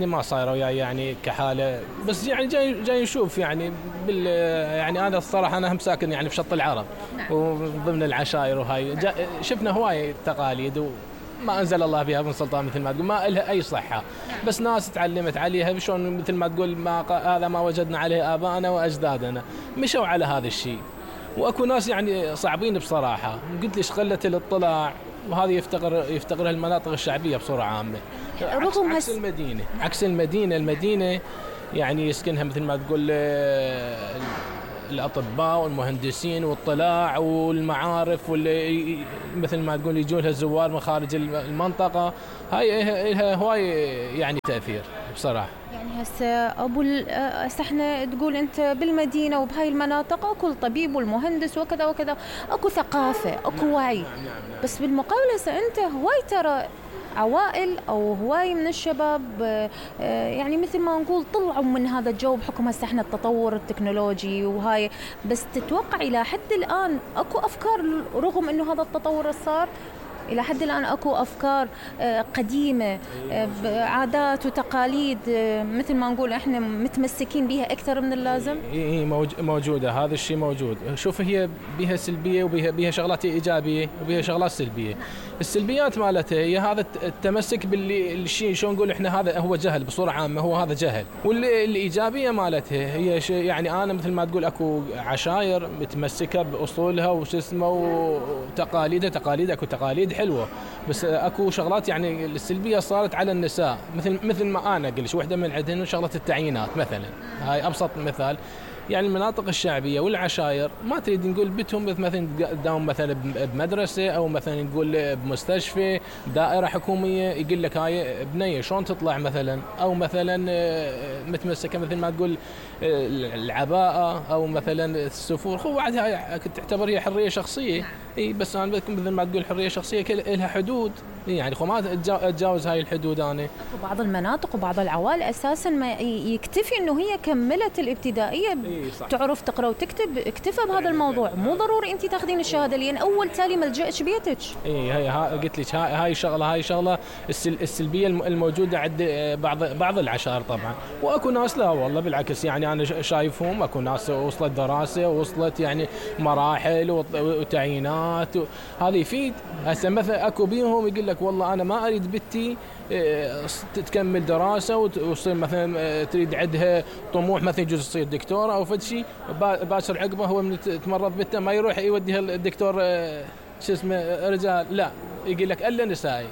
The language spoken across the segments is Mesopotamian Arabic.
ما صايره وياي يعني كحاله، بس يعني جاي نشوف يعني يعني انا الصراحه انا هم ساكن يعني بشط العرب وضمن العشائر وهاي شفنا هواي تقاليد وما انزل الله بها من سلطان مثل ما تقول، ما لها اي صحه، بس ناس تعلمت عليها شلون مثل ما تقول هذا ما وجدنا عليه ابائنا واجدادنا، مشوا على هذا الشيء. واكو ناس يعني صعبين بصراحه، قلت ليش قله الاطلاع، وهذه يفتقرها المناطق الشعبيه بصوره عامه. عكس المدينه يعني يسكنها مثل ما تقول الاطباء والمهندسين والاطلاع والمعارف، واللي مثل ما تقول يجون لها الزوار من خارج المنطقه، هاي لها هواي يعني تاثير بصراحه. يعني هسه احنا تقول انت بالمدينه وبهاي المناطق اكو الطبيب والمهندس وكذا وكذا، اكو ثقافه، اكو وعي. بس بالمقابل هسه انت هواي ترى عوائل او هواي من الشباب يعني مثل ما نقول طلعوا من هذا الجو بحكم هسه احنا التطور التكنولوجي وهاي، بس تتوقع الى حد الان اكو افكار رغم انه هذا التطور صار؟ إلى حد الآن أكو أفكار قديمة، عادات وتقاليد مثل ما نقول إحنا متمسكين بها أكثر من اللازم؟ موجودة، هذا الشيء موجود. شوف هي بها سلبية وبها شغلات إيجابية وبها شغلات سلبية. السلبيات مالتها هي هذا التمسك بالشيء، شو نقول إحنا هذا هو جهل بصورة عامة، هو هذا جهل. والإيجابية مالتها هي يعني أنا مثل ما تقول أكو عشائر متمسكة بأصولها وش اسمه وتقاليدها، أكو تقاليد حلوة، بس اكو شغلات يعني السلبية صارت على النساء، مثل ما انا قلت وحدة من عندهم شغلة التعيينات مثلا، هاي ابسط مثال. يعني المناطق الشعبية والعشائر ما تريد نقول بتهم مثلا تداوم مثلا بمدرسة او مثلا نقول بمستشفى دائرة حكومية، يقول لك هاي بنية شلون تطلع مثلا، او مثلا متمسكة مثل ما تقول العباءة او مثلا السفور، هو بعد هاي تعتبر هي حرية شخصية. اي بس انا بدكم مثل ما تقول حرية شخصية لها حدود، يعني خو ما اتجاوز هاي الحدود. انا اكو بعض المناطق وبعض العوائل اساسا ما يكتفي انه هي كملت الابتدائية تعرف تقرا وتكتب، اكتفى بهذا الموضوع، مو ضروري انت تاخذين الشهاده لان اول تالي ملجأش بيتك. هي قلت لك هاي شغله السلبيه الموجوده عند بعض العشائر طبعا. واكو ناس لا والله بالعكس، يعني انا شايفهم اكو ناس وصلت دراسه ووصلت يعني مراحل وتعيينات هذا يفيد. هسه مثلا اكو بيهم يقول لك والله انا ما اريد بنتي تكمل دراسه وتصير مثلا تريد عندها طموح مثلا يجوز تصير دكتوره او فد شيء، باشر عقبه هو من تمرض بنته ما يروح يوديها الدكتور شو اسمه رجال، لا يقول لك الا نسائي.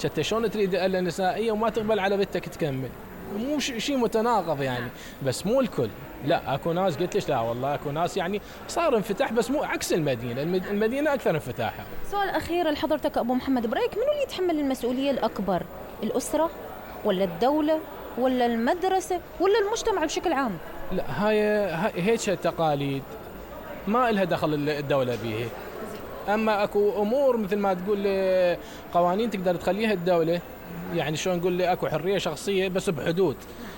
حتى شلون تريد الا نسائيه وما تقبل على بنتك تكمل؟ مو شيء متناقض يعني، بس مو الكل. لا اكو ناس قلت ليش لا والله اكو ناس يعني صار انفتاح، بس مو عكس المدينه، المدينه اكثر انفتاحا. سؤال اخير لحضرتك ابو محمد، برايك منو اللي يتحمل المسؤوليه الاكبر؟ الاسره ولا الدوله ولا المدرسه ولا المجتمع بشكل عام؟ لا هاي هيك تقاليد ما لها دخل الدوله بيها. اما اكو امور مثل ما تقول قوانين تقدر تخليها الدوله، يعني شلون نقول اكو حريه شخصيه بس بحدود،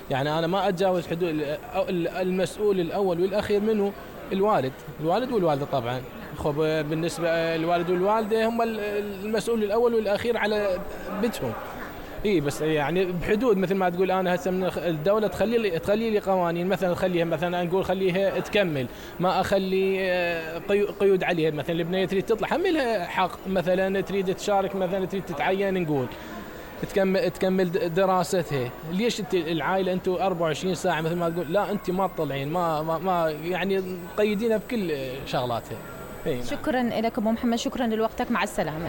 يعني انا ما اتجاوز حدود. المسؤول الاول والاخير منه الوالد والوالده طبعا. خب بالنسبه الوالد والوالده هم المسؤول الاول والاخير على بنتهم. بس يعني بحدود مثل ما تقول. انا هسه من الدوله تخلي لي قوانين، مثلا خليها مثلا نقول خليها تكمل، ما اخلي قيود عليها. مثلا البنيه تريد تطلع حملها حق، مثلا تريد تشارك، مثلا تريد تتعين نقول تكمل دراستها. ليش انت العائله انتم 24 ساعه مثل ما تقول لا انت ما تطلعين، ما يعني مقيدينها بكل شغلاتها. شكرا لك ابو محمد، شكرا لوقتك، مع السلامه.